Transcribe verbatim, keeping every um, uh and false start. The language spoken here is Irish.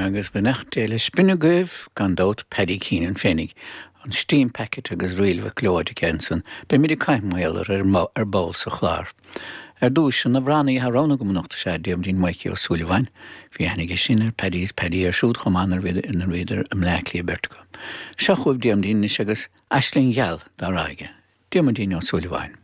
Agus beannacht Dé leis. B'in agaibh gan dabht Paddy Keenan féinig, an Steam Packet agus Ríl Mhic Leoid ansan, Beimid ag caint mar gheall ar ball sa chlár. Ar dtús an t-amhránaí atá roghnaithe agam anocht is ea Diarmuidín Maidhcí Ó Súilleabháin, Bhí aithne aige sin ar Paddy is Paddy ar siúd chomh maith nuair a bhíodar i mBleá Cliath beirt acu. Seo chugaibh Diarmuidín anois agus Aisling Gheal dá rá aige. Diarmuidín Ó Súilleabháin.